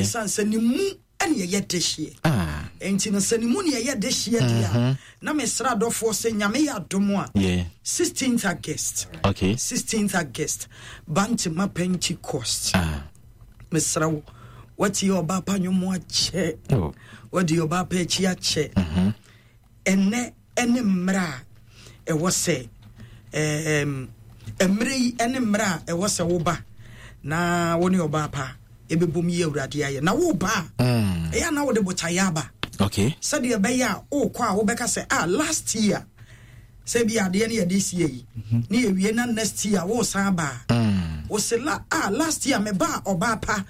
Ɛsiane sɛ ne mu ɛne ɛyɛ dehyeɛ. Ah. Nti no sɛ ne mu ne ɛyɛ dehyeɛ deɛ a, na mesrɛ adɔfoɔ sɛ Nyame yɛ adom a, 16th August, 16th August, Bantama Pentecost. Mesrɛ wo, watie ɔbaa pa nnwom akyɛ, oh. wadi ɔbaa pa akyi akyɛ. Ɛnɛ ɛne mmerɛ a ɛwɔ sɛ mmerɛ yi ɛne mmerɛ a ɛwɔ sɛ woba na wo ne ɔbaa pa ɛbɛbom yi Awurade ayɛ. Na woba a, ɛyɛ na wode botaeɛ aba, sɛdeɛ ɛbɛyɛ a wokɔ a wobɛka sɛ, ah, last year sɛ bi adeɛ no yɛde sie yi, ne yɛwie na next year wosan ba a, wo se la, ah, last year meba a ɔbaa pa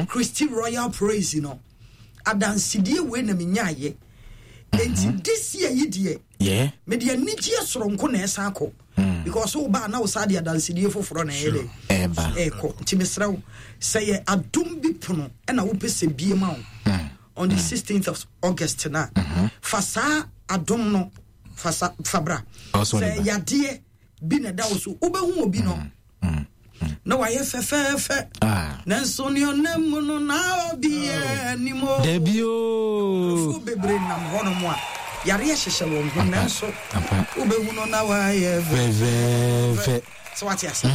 Christy Royal Praise no adansedie wei na menyaayɛ, enti this year yi deɛ, mede anigyeɛ soronko na ɛsan kɔ, because wo ba na wo saa de adansedie foforɔ na ɛyɛ dɛ ɛkɔ. Nti mesrɛ wo, sɛ yɛ adom bi pono ɛna wopɛ sɛ bie ma wo on the 16th of August na fa saa adom no fa sa fa bra. Sɛ yadeɛ bi na ɛda wo so, wobɛhu obi no na wayɛ fɛfɛɛfɛ, nanso ne ɔnam mu no na obi anim o. Dabi o. Nkurɔfoɔ bebree nam hɔnom a yareɛ hyehyɛ wɔn ho, nanso wobɛhu no na wayɛ fɛfɛɛfɛ. Sɛ wate ase,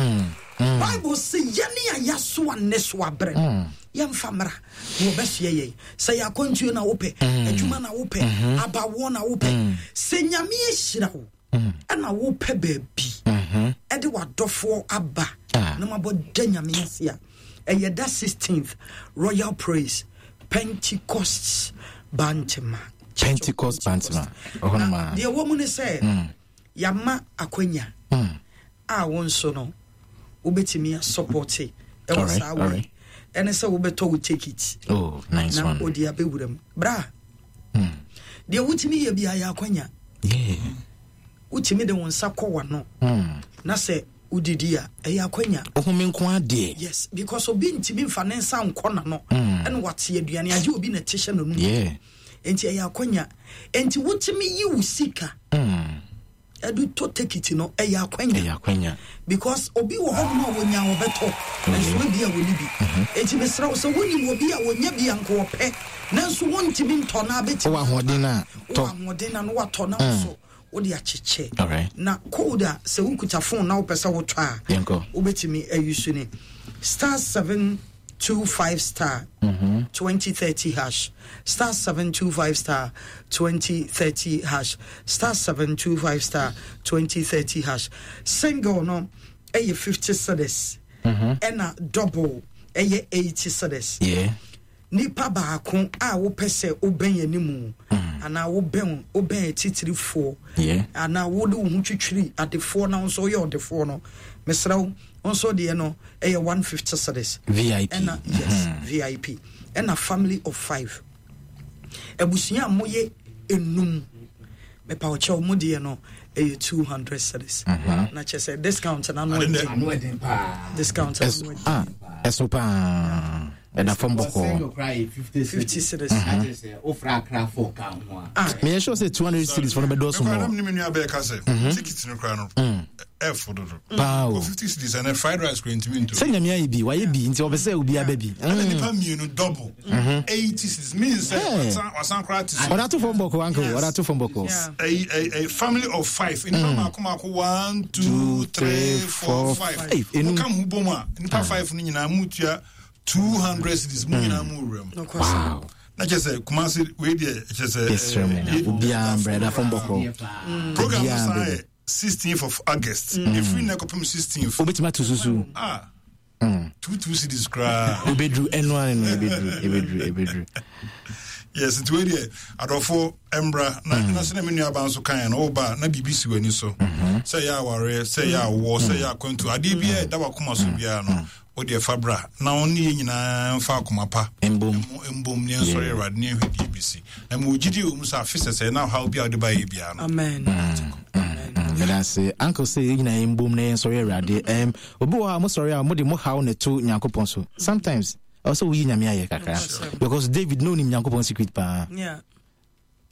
Bible sɛ yɛne a yɛasoa nnesoa berɛ no, yɛmfa mmra na wɔbɛsoɛ yɛn. Sɛ yɛ akwantuo na wopɛ, adwuma na wopɛ, abawoɔ na wopɛ, sɛ Nyame ahyira wo ɛna wopɛ baabi ɛde w'adɔfoɔ aba na mabɔ da Nyame ase a, ɛyɛ da 16th, Royal Praise, Pentecost Bantema. Pentecost Bantema. Na deɛ wɔ mu ne sɛ, yɛama akwanya a wo nso no wobɛtumi asupporte ɛwɔ saa wei, ɛne sɛ wobɛtɔ wo ticket Oh, nice na one. wode abɛwura mu bra. Deɛ wotumi yɛ bia yɛ akwanya. Wotumi de wo nsa kɔ w'ano na sɛ wodidi a, ɛyɛ akwanya. Ohun nko adeɛ. Yes, because obi ntumi nfa ne nsa nkɔ n'ano ɛna wate aduane agye obi na ɛte hyɛ n'anum. Nti ɛyɛ akwanya. Nti wotumi yi wo sika ɛde tɔ tekiti no, ɛyɛ akwanya. Ɛyɛ akwanya. Because obi wɔ hɔnom a wɔnya wɔbɛtɔ, nanso ebi a wɔni bi. Nti mesrɛ wo, sɛ wonim obi a wɔnya bi a nka wɔpɛ nanso wɔntumi ntɔ na abɛtumi Wowɔ ahoɔden a, tɔ. Wowɔ ahoɔden na no watɔ na wo so wode akyekyɛ. Na code a sɛ wokuta phone na wopɛ sɛ wotɔ a, Yɛnkɔ. wobɛtumi ayi so ne *725 *2030#, *725 *2030#, *725 *2030#. Single no ɛyɛ 50 cedis, ɛna double ɛyɛ 80 cedis. Nipa baako a wopɛ sɛ wobɛn animu anaa wobɛn atitirifoɔ anaa wode wo ho twitwiri adefoɔ na wo nso woyɛ ɔdefoɔ no, mesrɛ wo, wo nso deɛ no ɛyɛ 150 cedis. VIP. Ɛna yes, VIP. Ɛna family of five, abusua a moyɛ enum, mepa wo kyɛw, mo deɛ no ɛyɛ 200 cedis. Na kyerɛ sɛ discount na no ɛden discount na no ɛden. Ah, ɛso paa, ɛda fam bɔkɔɔ. 50 cedis. Meyɛ sure sɛ 200 cedis fo no bɛdɔɔso mɔ. Mɔ. Ne me nua bɛyɛ ka sɛ ticket no koraa no ɛfo dodo. Paa o. O 50 cedis ɛnɛ fried rice kora ntumi nto. Sɛ Nyame ayɛ bi, wayɛ bi, nti ɔpɛ sɛ obiara bɛ bi. Ɛna nipa mmienu double 80 cedis means sɛ wasan koraa te so. Ɔda to fam bɔkɔɔ, uncle, ɔda to fam bɔkɔɔ. A family of five, nipa mako mako, one, two, three, four, five. Hey, enum. Woka mo bom a, nipa five no nyinaa mu tua 200 cedis, mu nyinaa mu wura mu. Na kyerɛ sɛ Kumase wei deɛ, kyerɛ sɛ Yɛsrɛ mo, obiara mbrɛ, ɛda fam bɔkɔɔ. Program no Obiara san mbɛ. yɛ 16th of August, ɛfiri nnɛ kɔpem 16th. Wobɛtumi ato susu. Ah, 2 2 cedis koraa. Wobɛduru ɛno ane no, ɛbɛduru, ɛbɛduru, ɛbɛduru. Yes, nti wei deɛ, adɔfoɔ mbra na sɛ na me nuaba nso kaeɛ no, woba na biribi si w'ani so, sɛ ɛyɛ awareɛ, sɛ ɛyɛ awoɔ, sɛ ɛyɛ akwantu, adeɛ biara ɛda w'akoma so biara no, wodeɛ fa bra na wo ne yɛ nyinaa mfa akoma pa mbom. Mbom ne yɛnsɔre Awurade ne yɛnhwɛ deɛ bɛsi na mewɔ gyidie wɔ mu sɛ afe sɛsɛɛ na ɔhaw bi a wode baeɛ biara no. Amen. Meda ase, uncle, sɛ yɛn nyinaa yɛmbom na yɛnsɔre Awurade. Obi wɔ hɔ a mosɔre a, mode mo haw na ɛto Nyankopɔn so. Sometimes ɛwɔ sɛ woyi Nyame ayɛ kakra, because David na onim Nyankopɔn secret paa.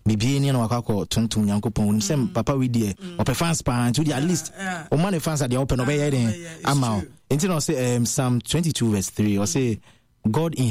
Bibie ni na wakɔ akɔ tontom Nyankopɔn, onim sɛ papa wei deɛ ɔpɛ fans paa, nti wode at least ɔma ne fans adeɛ ɔpɛ no ɔbɛyɛ den Yeah, it's ama wo. true. Nti na ɔsɛ Psalm 22 verse 3, ɔsɛ God in